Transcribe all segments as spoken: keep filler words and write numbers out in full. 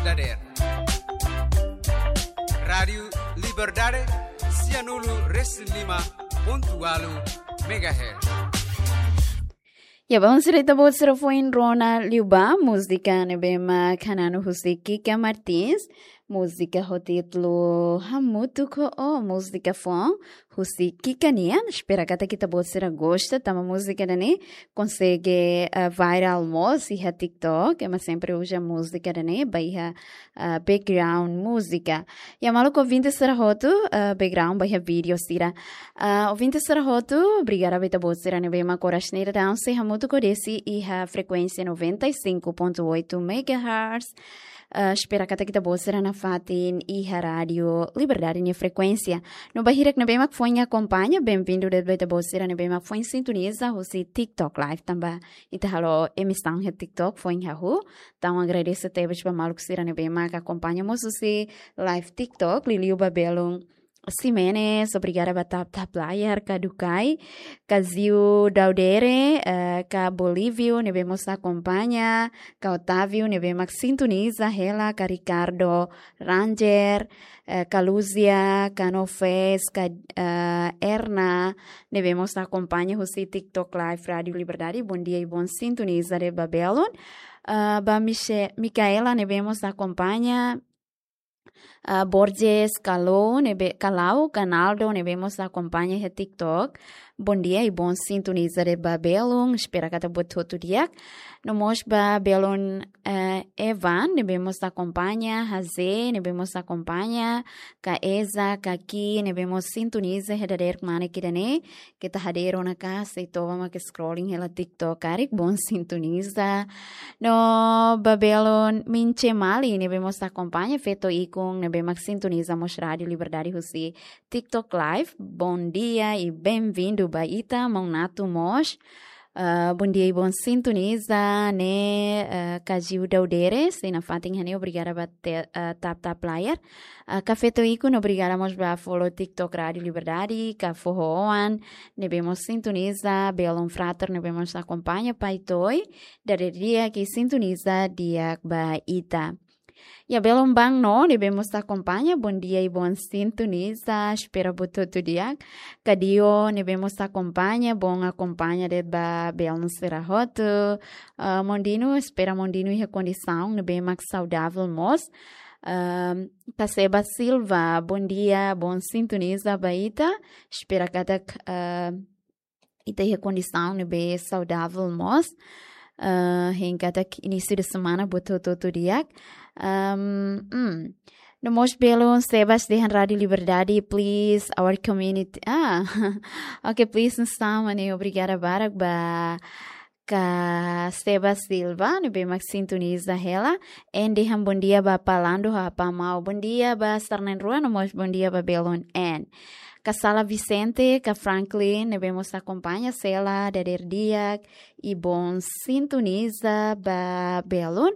Dader. Rádiu Liberdade, sianulu resin lima pontu ualu megahertz. Ya, vamos direta buat sira foin rona liubá, múzika ne'ebé mak hananu husi Kika Martins, múzika ho títulu Hamutuk Ho Ó, múzika foun husi Kika nian. Espera katak ita-boot sira gosta, tanba múzika ida-ne'e konsege, eh, viral mós iha TikTok, ema sempre uza múzika ida-ne'e ba iha, eh, background múzika. Ya, maluk ouvinte sira hotu, eh, background ba iha vídeo sira. Ah, ouvinte sira hotu, obrigada ba ita-boot sira ne'ebé mak oras ne'e daudaun sei hamutuk ho Desi iha frekuénsia noventa e cinco ponto oito megahertz. Ah, espera katak ita-boot sira nafatin iha Rádiu Liberdade nia frekuénsia. No ba hirak ne'ebé mak foin akompaña, benvindu de'it ba ita-boot sira ne'ebé mak foin sintoniza husi TikTok Live tanba ita halo emisaun iha TikTok foin hahú. Entaun agradese tebes ba maluk sira ne'ebé mak akompaña mós husi live TikTok, liuliu ba belun Ximenes, obrigada ba Tap Tap Layar, Kadukai, Kaziu Daudere, eh, ka Bolívio, ne'ebé mós akompaña, ka Otávio, ne'ebé mak sintoniza hela, ka Ricardo Ranger, eh, ka Luzia, ka Nofes, ka, eh, Erna, ne'ebé mós akompaña husi TikTok Live Rádiu Liberdade, bondia i bon sintoniza de'it ba belun. Eh, ba Miche-, Micaela, ne'ebé mós akompaña, ah, Borges, Kalau, ne'ebé, Kalau, Canaldo, ne'ebé mós akompaña iha TikTok. Bondia i bon sintoniza de'it ba belun, espera katak buat hotu di'ak. No mós ba belun, eh, Evan, ne'ebé mós akompaña, Haze, ne'ebé mós akompaña, ka Eza, ka Ki, ne'ebé mós sintoniza iha dadeer kmanek ida-ne'e, keta hadeer ona ka, sei toba mak scrolling hela TikTok karik, bon sintoniza. No ba belun Minche Mali, ne'ebé mós akompaña, feto ikun, ne'ebé mak sintoniza mós Rádiu Liberdade husi TikTok Live. Bondia i benvindu ba ita, maun Natu mós. Ah, bondia i bon sintoniza, ne'e, ah, Kaziu Daudere, sei nafatin iha ne'e, obrigada ba te-, ah, Tap Tap Layar. Ah, ka feto ikun, obrigada mós ba follow TikTok Rádiu Liberdade, ka Foho Oan, ne'ebé mós sintoniza, belun Frater, ne'ebé mós akompaña, Pai Toy, dadeer di'ak i sintoniza di'ak ba ita. Ya, belun Bang No, ne'ebé mós akompaña, bondia i bon sintoniza, espera buat hotu di'ak. Ka Dio, ne'ebé mós akompaña, bon akompaña de'it ba belun sira hotu. Ah, maun Dino, espera maun Dino iha kondisaun ne'ebé mak saudavel mós. Ah, ka Seba Silva, bondia, bon sintoniza ba ita. Espera katak, ah, ita iha kondisaun ne'ebé saudavel mós. Ah, hein katak inísiu de semana buat hotu-hotu di'ak. Ahm, hmm. No mós belun Sebas dehan Rádiu Liberdade, please, our community. Ah, oke, please, no sama ne'e, obrigada barak ba ka Seba Silva, ne'ebé mak sintoniza hela. En dehan bondia ba Palando, Apa Mau. Bondia ba sarnenrua, no mós bondia ba belun En. Ka Sala Vicente, ka Franklin, ne'ebé mós akompaña, Sela, dadeer di'ak i bon sintoniza ba belun.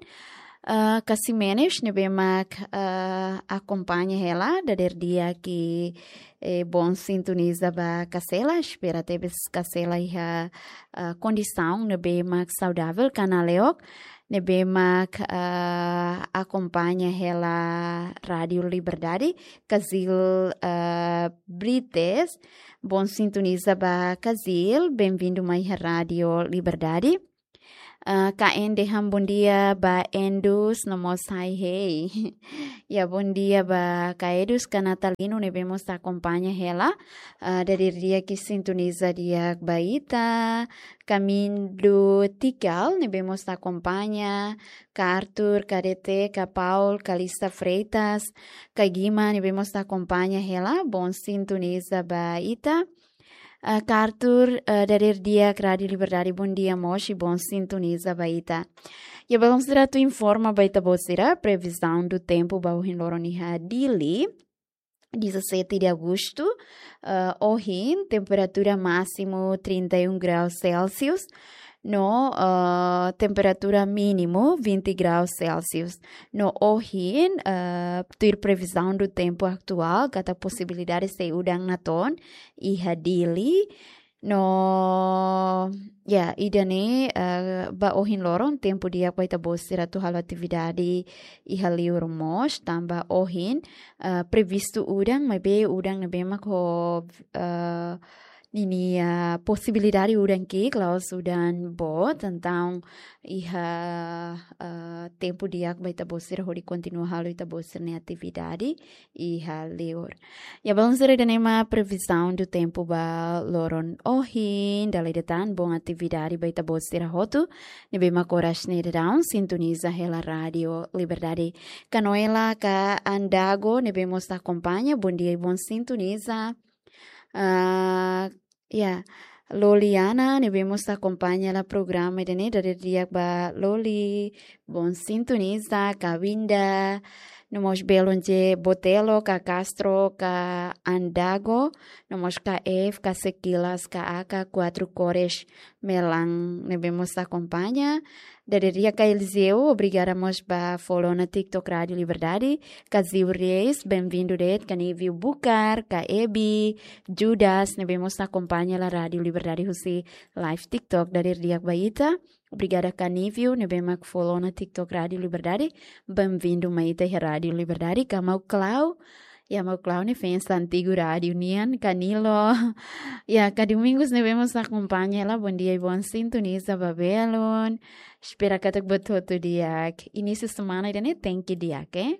Ah, ka Ximenes, ne'ebé mak, ah, akompaña hela, dadeer di'ak i, eh, bon sintoniza ba Kasela, espera tebes Kasela iha, ah, kondisaun ne'ebé mak saudavel, ka Naleok, ne'ebé mak, ah, akompaña hela Rádiu Liberdade, Kazil, ah, Brites, bon sintoniza ba Kazil, benvindu mai iha Rádiu Liberdade. Ah, ka En dehan bondia ba Endus, no mós hai hei. Ya, bondia ba ka Endus, ka Natalino, ne'ebé mós akompaña hela. Ah, dadeer di'ak i sintoniza di'ak ba ita. Ka Mindu Tikal, ne'ebé mós akompaña. Ka Arthur, ka D T, ka Paul, ka Lisa Freitas, ka Gima, ne'ebé mós akompaña hela. Bon sintoniza ba ita. Ah, ka Arthur, ah, dadeer di'ak Rádiu Liberdade, bondia mós i bon sintoniza ba ita. Ya, belun sira, atu informa ba ita-boot sira, previsão do tempo ba ohin loron iha Dili, dezassete de agosto, ah, ohin, temperatura másimu trinta e um graus Celsius, no, ah, temperatura mínimu vinte graus Celsius. No ohin, ah, tuir previsão do tempo atuál, katak posibilidade sei udan natoon iha Dili, No, ya, ida-ne'e, eh, ba ohin loron, tempu di'ak ba ita-boot sira atu halo atividade iha liur mós, tanba ohin, eh, previstu udan, maibé udan ne'ebé mak ho, eh, ninia posibilidade udan ki'ik, la'ós udan boot, entaun iha, eh, tempu di'ak ba ita-boot sira hodi kontinua halo ita-boot sira-nia atividade iha liur. Ya, balun sira, ida-ne'e mak previzaun do tempu ba loron ohin, dala ida tan, bom atividade ba ita-boot sira hotu ne'ebé mak oras ne'e daudaun sintoniza hela Rádio Liberdade. Ka Noela ka Andago ne'ebé mós akompaña, bom dia i bom sintoniza. Ah, ya, Loliana ne'ebé mós akompaña hela programa ida-ne'e, dadeer di'ak ba Loli, bom sintoniza, ka Winda, no mós belun J Botelo, ka Castro, ka Andago, no mós ka F, ka Sekilas, ka A K, Quatro Cores, Melan ne'ebé mós akompaña. Dadeer di'ak ka Eliseu, obrigada mós ba follow ona TikTok Rádio Liberdade. Ka Ziu Reis, bem-vindo de'it, ka Niviu Bukar, ka Ebi, Judas, ne'ebé mós akompaña hela Rádio Liberdade husi live TikTok, dadeer di'ak ba ita. Obrigada ka Niviu, ne'ebé mak follow ona TikTok Rádio Liberdade. Bem-vindo mai ita iha Rádio Liberdade, ka Mau Clau. Ya, Mau Clau ne'e fans antigu rádio nian, ka Nilo. Ya, ka Domingos ne'ebé mós akompaña hela, bom dia i bom sintoniza ba belun. Espera katak buat hotu di'ak. Inísiu semana ida-ne'e tenke di'ak, eh?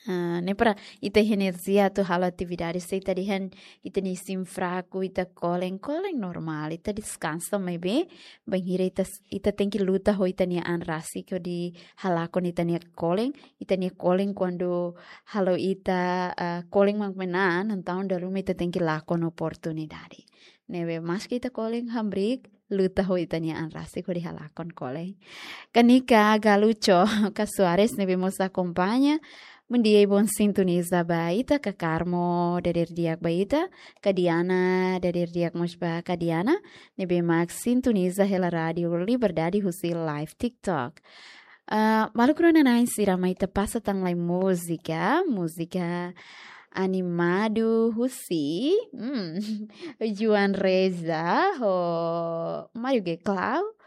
Ah, ne'e para ita iha enerjia atu halo atividade, se ita dehan ita-nia isin fraku, ita kolen, kolen normál, ita deskansa, maibé bainhira ita, ita tenke luta ho ita-nia an rasik hodi halakon ita-nia kolen, ita-nia kolen kuandu halo ita, ah, kolen mak manán, entaun dala ruma ita tenke lakon oportunidade. Ne'ebé maski ita kolen hamriik, luta ho ita-nia an rasik hodi halakon kolen. Ka Nika Galucho, ka Soares ne'ebé mós akompaña. Bom dia i bom sintoniza ba ita, ka Carmo, dadeer di'ak ba ita. Ka Diana, dadeer di'ak mós ba ka Diana, ne'ebé mak sintoniza hela Rádio Liberdade husi live TikTok. Ah, maluk rona-na'in sira, mai ita pasa tan lai múzika, múzika animadu husi, hmm, Joan Reza ho Mário G Clau,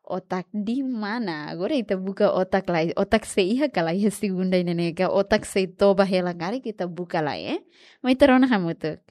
Otak di Mana. Agora ita buka otak lai, otak sei iha ka lae iha segunda ida-ne'e ka, otak sei toba hela karik ita buka lai, eh? Mai ita rona hamutuk.